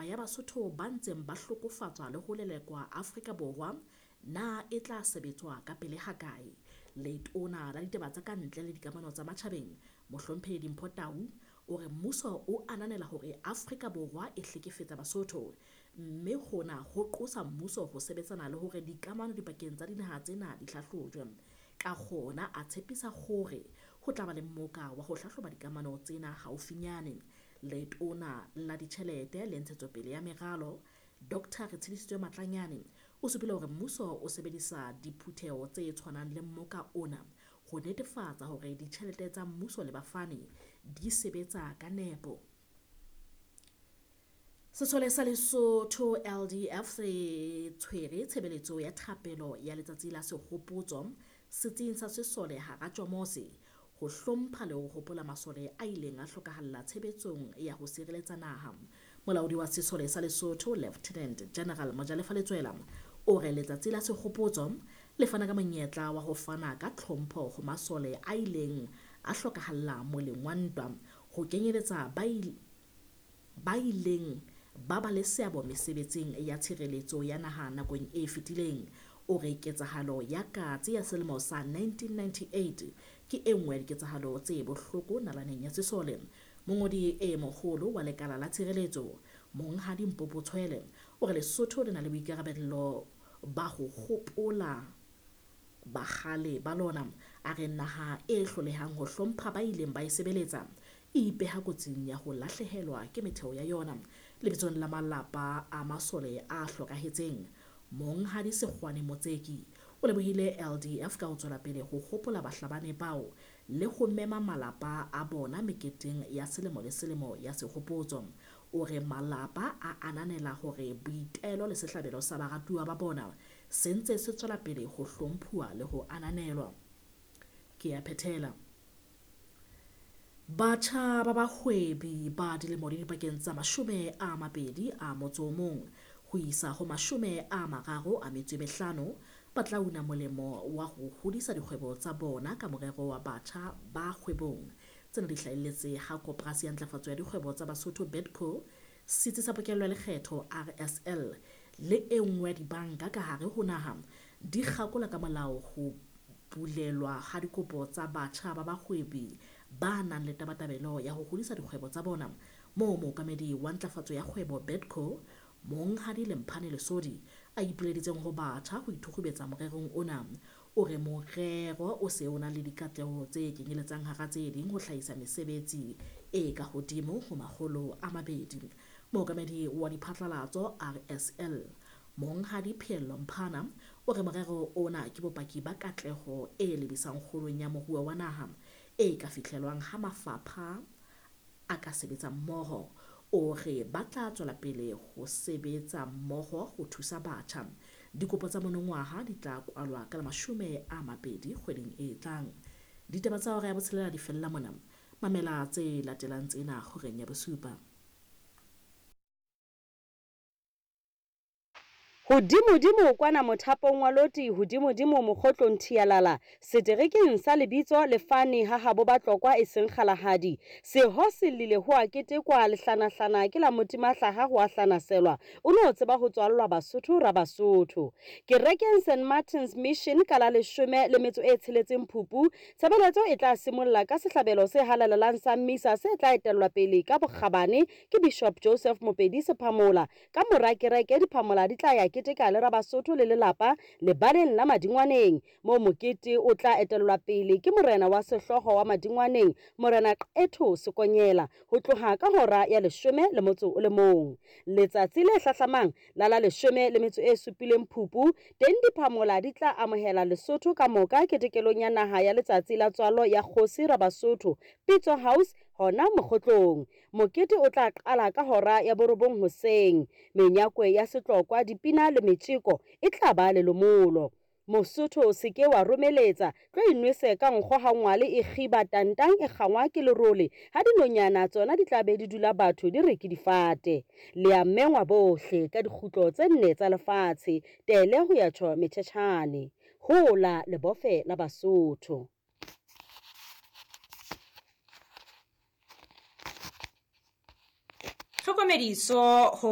ya Basotho ba ntseng ba hlokofatswa le ho lelekwa Afrika Borwa na e tla sebetswa ka pele hakae. Letona la ditaba tsa ka ntle le dikamano tsa matjhabeng, Mohlomphehi Dimpho Tau, o re mmuso o ananela hore Afrika Borwa e hlekefetsa Basotho, mme hona ho qosa mmuso ho sebetsana le hore dikamano dipakeng tsa dinaha tsena di hlahlojwe. Ka kgona a tshepisa hore ho tla ba le mmoka wa ho hlahloba dikamano tsena haufinyane. Letona la ditjhelete le ntshetsopele ya meralo, Dr. Retshedisitswe Matlanyane, o supile hore mmuso o sebedisa diphutheho tse tshwanang le mmoka ona ho netefatsa hore ditjhelete tsa mmuso le bafani di sebetsa ka nepo. Sesole sa Lesotho LDF se tshwere tshebeletso ya thapelo ya letsatsi la sehopotso setsing sa sesole hara Tjomose ho hlompha le ho hopola masole a ileng a hlokahalla tshebetsong ya ho sireletsa naha. Molaodi wa sesole sa Lesotho Lieutenant General Mojalefa Letsoela o re letsatsi la sehopotso le fana ka monyetla wa ho fana ka tlhompho ho masole a ileng a hlokahalla moleng wa ntwa, ho kenyeletsa ba ileng ba ba le seabo mesebetsing ya tshireletso ya naha nakong e fetileng. O re ketsahalo ya Katse ya selemo sa 1998 ke e nngwe ya diketsahalo tse bohloko nalaneng ya sesole. Mongodi e moholo wa lekala la tshireletso, Monghadi Mpopo Tshwele, o re Lesotho le na le boikarabello ba ho hopola bahale ba lona. A re naha e hlolehang ho hlompha ba ileng ba e sebeletsa e ipeha kotsing ya ho lahlehelwa ke metheo ya yona. Lebitsong la malapa a masole a hlokahetseng, Monghadi Sekgwane Motseki o lebohile LDF ka ho tswela pele ho hopola bahlabani bao le ho mema malapa a bona meketeng ya selemo le selemo ya sehopotso. O re malapa a ananela hore boitelo le sehlabelo sa baratuwa ba bona se ntse se tswela pele ho hlomphuwa le ho ananelwa. Ke a phethela. Batjha ba bahwebi ba dilemo di dipakeng tsa 21 ho isa ho 35 ba tla una molemo wa ho hodisa dikgwebo tsa bona ka morero wa batjha ba kgwebong. Tsena di hlahelletse ha Koporasi ya Ntlafatso ya Dikgwebo tsa Basotho BEDCO, Setsi sa Pokello ya Lekgetho RSL le e nngwe ya dibanka ka hare ho naha di kgakola ka molao ho bulelwa ha dikopo tsa batjha ba bahwebi ba nang le tabatabelo ya ho hodisa dikgwebo tsa bona, moo mookamedi wa ntlafatso ya kgwebo BEDCO, Monghadi Lemphane Lesodi, a ipileditseng ho batjha ho ithukgubetsa morerong ona. O re morero o se o na le dikatleho tse kenyeletsang hara tse ding ho hlahisa mesebetsi e ka hodimo ho 200. Mookamedi wa diphatlalatso RSL, Monghadi Pheello Mphana, o re morero ona ke bopaki ba katleho e lebisang kgolong ya moruo wa naha e ka fihlelwang ha mafapha a ka sebetsa mmoho. O re ba tla tswela pele ho sebetsa mmoho ho thusa batjha. Dikopo tsa monongwaha di tla kwalwa ka la 20 kgweding e tlang. Ditaba tsa hora ya botshelela di fella mona. Mamela tse latelang tsena horeng ya bosupa. Hodimodimo kwana mothapong wa loti, hodimodimo mokgotlong thialala, seterekeng sa lebitso lefane ha habo Batlokwa e seng Kgalahadi. Seho se llile ho a ketekwa, lehlanahlana ke la motimahlaha ho a hlanaselwa, o no tseba ho tswallwa Basotho ra Basotho. Kerekeng St Martin's Mission ka la 16 Phupu, tshebeletso e tla simolla ka sehlabelo se halalelang sa misa se tla etellwa pele ka bokgabane ke Bishop Joseph Mopedi Sephamola. Ka mora kereke diphamola di tla ya keteka le Rabasotho le lelapa lebaleng la Madingwaneng, moo mokete o tla etellwa pele ke morena wa sehlooho wa Madingwaneng, Morena Qetho Sekonyela, ho tloha ka hora ya 11. Letsatsi le hlahlamang la la 17 Phupu, teng diphamola di tla amohela Lesotho ka moka ketekelong ya naha ya letsatsi la tswalo ya kgosi Rabasotho, Pitso House, hona mokgotlong. Mokete o tla qala ka hora ya 9 hoseng. Menyakwe ya setlokwa, dipina le metjeko e tla ba lelomolo. Mosotho o se ke wa romeletsa, tlo inwese ka nkgo ha ngwale e kgiba tantang e kgangwa ke lerole, ha dinonyana tsona di tla be di dula batho di re ke difate. Le a mengwa bohle ka dikgutlo tse nne tsa lefatshe, tele ho ya tjho metjhetjhane. Hola lebofe la Basotho. Tlhokomediso ho